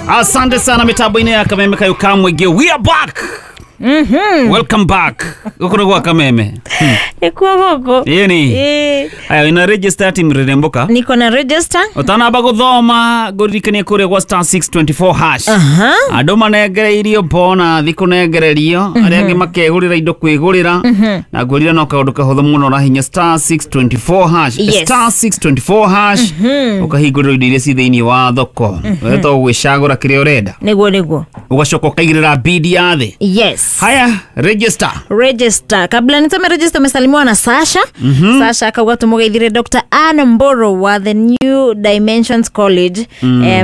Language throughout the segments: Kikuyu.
Asante sana mitambo-inĩ ya Kameme kayo ka mũingĩ. We are back. Welcome back. Gũkũ nĩ gwa Kameme. Nĩkuo gũkũ. Ĩni. Ĩĩ. Aya wĩna register team rĩrĩmbũka. Niko na register. Ũtanamba gũthoma ngũririkanie kũrĩa gwa star 624 hash. Aha. Andũ manengereirio bonathi kũnengererio arĩa angĩ makegũrĩra indo kwĩgũrĩra na ngwĩrire no kaũndũ kahũthũ mũno ũrahinya star 624 hash. Yes. Star 624 hash ũkahingũrĩrwo indo iria ci thĩinĩ wa thoko we to gwĩcagũra kĩrĩa ũrenda Nĩguo nĩguo. ũgacoka ũkaigĩrĩra bidi ya thĩ. Yes. Haya, register. Register. Kabla nisome register, umesalimiwa na Sasha. Sasha akauga tumugeithire Dr. Ann Mboro wa the New Dimensions College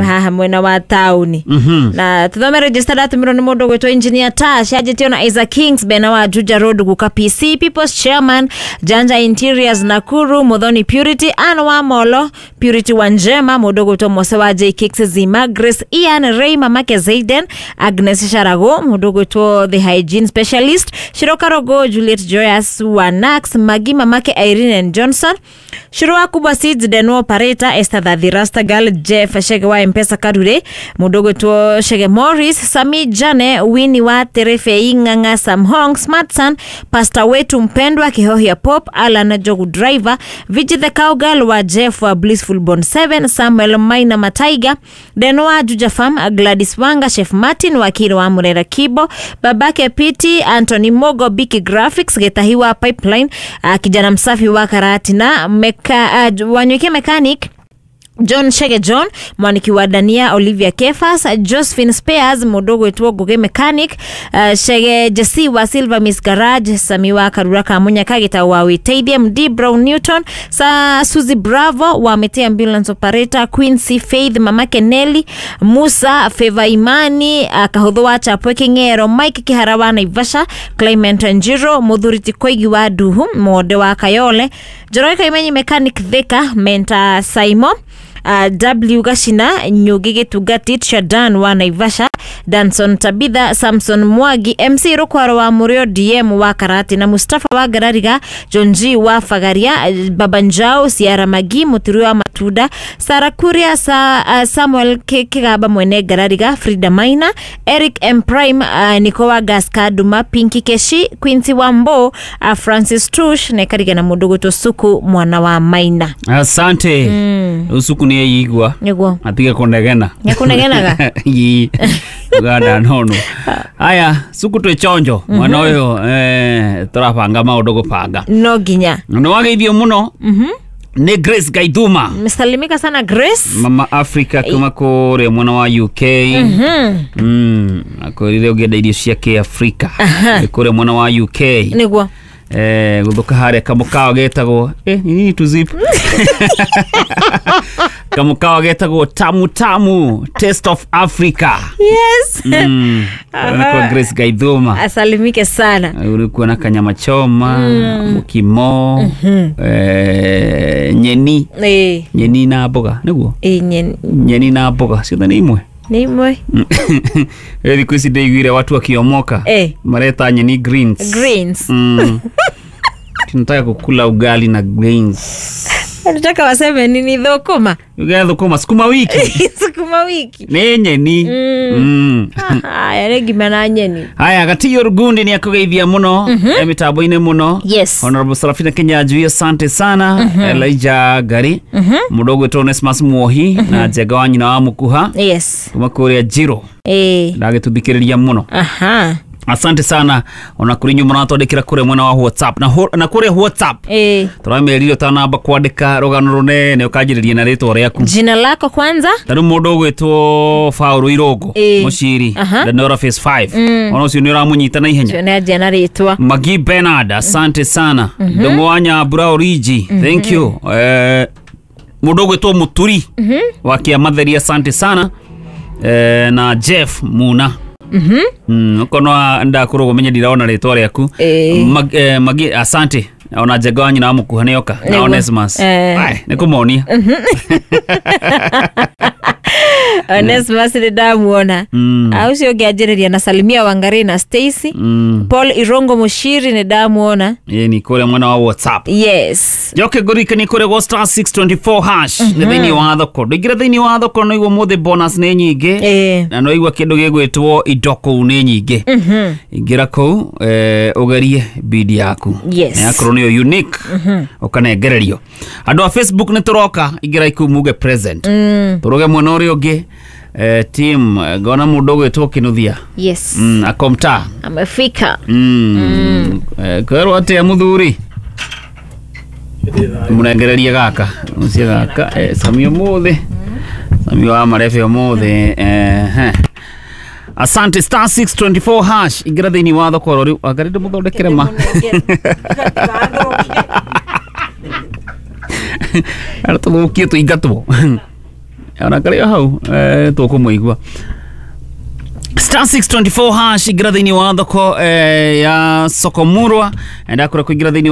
haha mwena wa tauni. Na tuthome register ndatumirwo ni mundu gwitwo Engineer Tash anjitio na Isaac Kings Bena wa Juja Road Guka PC People's Chairman Janja Interiors Nakuru Muthoni Purity Ann wa Molo Purity Wanjema mundu gwitwo Mose wa J Kicks Zima Grace Ian Ray mamake Zaiden Agnes Sharago mundu gwitwo the hygiene specialist Shiro Karogo Juliet Joyous wa Nax Magi mamake Irene and Johnson Shiro wa Kubwa Seeds Deno Operator Esther Thathi Rastagal Jeff Shege wa Mpesa Karure mundu gwitwo Shege Morris Sami Jane Winnie wa Terefe Ing'ang'a Sam Hong Smartson Pastor wetu mpendwa Kihohia Pop Alan Jogu Driver Viji the Cowgirl wa Jeff wa Blissful Born 7 Samuel Maina Mataiga Deno wa Juja Farm Gladys Wanga Chef Martin Wakiri wa Murera Kibo babake Piti Anthony Mogo Biki Graphics Getahi wa Pipeline kijana msafi wa Karatina Wanywike Mechanic John Shege John mwaniki wa Dania Olivia Kefas Josephine Spears mundu gwitwo Ngugi Mechanic Shege Jesse wa Silver Miss Garage Sami wa Karura Kamunya Kagita wa Witeithie MD Brown Newton sa Suzy Bravo wa Mete Ambulance Operator Quincy Faith mamake Nelly Musa Favor Imani Kahuthu wa Chapwe King'ero Mike Kihara wa Naivasha Clement Njiro Muthuriti Koigi wa Duhu Monde wa Kayole Njoroge Kaimenyi Mechanic Thika Menta Saimo W Gashina Nyugi Gitungati Shadan wa Naivasha Danson Tabitha Samson Mwagi MC Rukwaro wa Murio DM wa Karati na Mustafa wa Garariga John G wa Fagaria Baba Njao Ciara Magi Muturi wa Matuda Sara Kuria Samuel Kigaba mwene Garariga Frida Maina Eric M Prime Niko wa Gaska Duma Pinky Keshi Quincy Wambo Francis Tush na Kariga na mundu gwitwo Suku mwana wa Maina. Asante. Usuku nĩ eyigua Nĩguo. Atige kũnegena. Nĩekũnegenaga? Ii. Uganda nono. Haya, suku twĩ chonjo mwana ũyũ tũrabanga maũndũ gũbanga. No nginya. Nĩ wageithio mũno nĩ Grace Gaithuma. Msalimika sana Grace. Mama Africa kuma kũrĩa mwena wa UK. Akwĩrire ũngĩenda irio cia kĩafrika nĩ kũrĩa mwena wa UK. Nĩguo. Gũthũka harĩa kamũkawa getagwo nini tu zip kamũkawa getagwo Tamu Tamu Taste of Africa. Yes. Kwa Grace Gaithuma Asalimike sana. Ulikuwa na kanyama choma mukimo nyeni nyeni na mboga nĩguo nyeni na mboga ciothe nĩ imwe. Nĩ imwe. Thikũ ici ndĩiguire watu wakiomoka mareta nyeni greens. Greens. Tunataka kukula ugali na greens. Nataka waseme nini thũkũma? Ugali thũkũma sukuma wiki. Sukuma wiki. Nĩ nyeni. Haya nĩ ngima na nyeni. Haya Gatiyo Rugundi nĩ akũgeithia mũno mĩtambo-inĩ mũno. Yes. Honorable Sarafina Kinyanjui asante sana. Elijah Gari mũndũ ũgwĩtwo Onesmus Muohi na Njenga wa nyina wa Mũkuha. Yes. Kuma kũrĩa Njiro. Ndagĩtũthikĩrĩria mũno. Aha. Asante sana ona kuri nyuma mũratwandĩkĩra kũrĩa mwena wa WhatsApp na kũrĩa WhatsApp tũramerire ũtanamba kwandĩka rũgano rũnene ũkanjĩrĩria na rĩtwa rĩaku. Jina lako kwanza. Ta rĩu mũndũ ũgwĩtwo Paul Irongo Mũciri Lenora Phase 5 ona ũcio nĩ ũramũnyita na ihenya. Ũcio nĩ anjia na rĩtwa. Magi Bernard asante sana. Ndũng'ũ wa Nyambura Origi thank you. Mũndũ ũgwĩtwo Mũturi wa Kĩamatheri asante sana. Na Jeff Muna. Okorwo ndakorwo menye ndirona rĩtwa rĩaku. Magi asante ona Njenga wa nyina wa Mũkuha nĩoka na Onesmus. Ai nĩ kũmonia. Onesmus nĩ ndamuona. Ũcio ũngĩ anjĩrĩria na salimia Wangari na Stacy. Paul Irongo Mushiri nĩ ndamuona. Ni kũrĩa mwena wa WhatsApp. Yes. Njoke ngũririkanie kũrĩa gwa star 624 hash nĩ thĩinĩ wa thoko. Ndũingĩre thĩinĩ wa thoko no igua mũthĩ bonus nĩ nyingĩ. Na no igua kĩndũ gĩgwĩtwo indo kũu nĩ nyingĩ. Ingĩra kũu ũgerie bidi yaku. Yes. Yakorwo nĩyo unique ũkanengererio. Andũ a Facebook nĩ tũroka ingĩra ikuu muge present. Tũrũge mwena ũrĩa ũngĩ team ngona mũndũ ũgwĩtwo Kĩnuthia. Yes. Akomta. Amefika. Kwĩrwo atĩa mũthuri? Mũrengererie gaka ũcio gaka Sami ũmũthĩ Sami wa marebe ũmũthĩ. Asante star 624 hash ingĩra thĩinĩ wa thoko oro rĩu anga ndĩmũthondekere ma ara tũthũkie tũingatwo ona karĩ o hau tũkũmũigua. Star 624 hash ingĩra thĩinĩ wa thoko ya Sokomurwa. Ndakũra kũingĩra thĩinĩ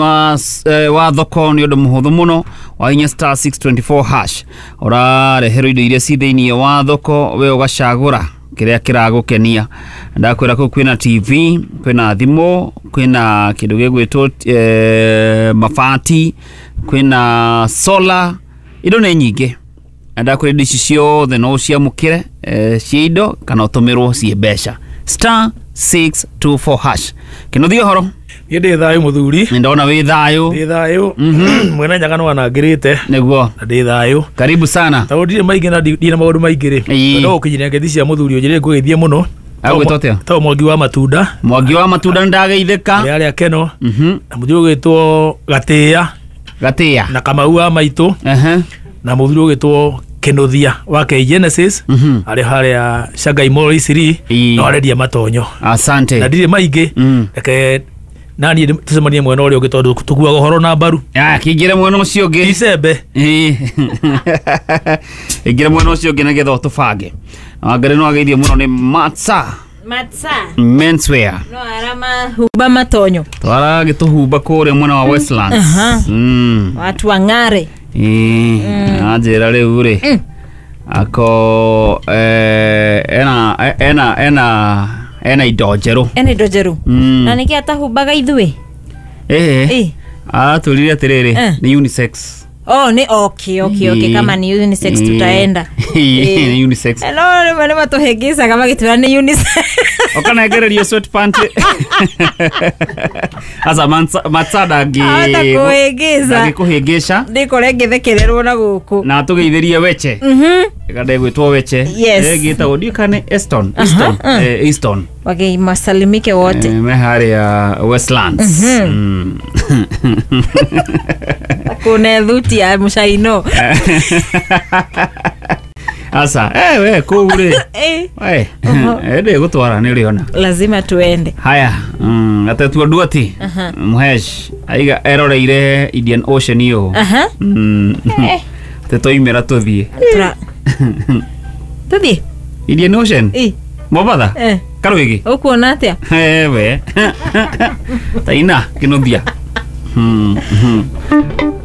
wa thoko nĩ ũndũ mũhũthũ mũno wahinya star 624 hash ũrareherwo indo iria ci thĩinĩ wa thoko we ũgacagũra kĩrĩa kĩragũkenia. Ndakwĩra kũu kwĩna TV, kwĩna thimũ, kwĩna kĩndũ gĩgwĩtwo mabati, kwĩna solar, indo nĩ nyingĩ. Ndakwĩra indo ici ciothe no ũciamũkĩre cia indo kana ũtũmĩrwo ciĩ mbeca. Star 624 hash. Kĩnuthia ũhoro? Niĩ ndĩ thayũ mũthuri. Nĩ ndona wĩ thayũ. Ndĩ thayũ. Mwene Nyaga nĩwanangĩrĩte. Nĩguo. Na ndĩ thayũ. Karibu sana. Tondũ ndirĩ maingĩ na ndirĩ na maũndũ maingĩ rĩ. No gũkinyĩria ngethi cia mũthuri ũnjĩrĩre ngũgeithie mũno. Agwĩtwo atĩa? Tao Mwangi wa Matunda. Mwangi wa Matunda nĩndageithĩka. Arĩa arĩa Keno. Na mũthuri ũgwĩtwo Gatĩĩa. Gatĩĩa. Na Kamau wa Maitũ. Na mũthuri ũgwĩtwo Kĩnuthia wa K Genesis. Arĩ harĩa Shanghai Mall Eastleigh. No arendia matonyo. Asante. Na ndirĩ maingĩ. Reke nani tũcemanie mwena ũrĩa ũngĩ tondũ tũkuaga ũhoro na mbaru. Kĩingĩre mwena ũcio ũngĩ. Icembe. Ingĩre mwena ũcio ũngĩ nĩgetha ũtũbange. Wangari no ageithio mũno nĩ Matsa. Matsa. Menswear. No aramahumba matonyo. Twaragĩtũhumba kũrĩa mwena wa Westlands. Watu wang'are. Anjĩra rĩu rĩ ako ena indo njerũ. Ena indo njerũ. Na nĩkĩ atahumbaga ithuĩ? Atwĩrire atĩrĩrĩ nĩ unisex. Oh, ni okay, okay, okay. Kama ni unisex tutaenda. Ni unisex. No, nĩ matũhĩngĩcaga magĩtwĩra nĩ unisex. Ũkanengererio sweatpant. Aca Matsa ndangĩkũhĩngĩca. Ndangĩkũhĩngĩca. Ndĩkore ngĩthekererwo na gũkũ. Na atũgeithĩrie Weche. Ganda ĩgwĩtwo Weche. Yes. Ĩgĩtagwo ndiũĩ kana nĩ Eston. Easton. Wagei masalimike wote. Me harĩa Westlands. Kune thuti ya mũcaino. Aca, we kũu rĩ. We, ndĩgũtwara nĩ ũrĩona. Lazima tuende. Haya, atetua Nduati. Mũhesh aiga eroreire Indian Ocean ĩyo. Atĩ twaimĩra tũthiĩ. Tũthiĩ? Indian Ocean? Mombatha? Karwĩgĩ? Ũkuona atĩa? We. Taina, Kĩnuthia.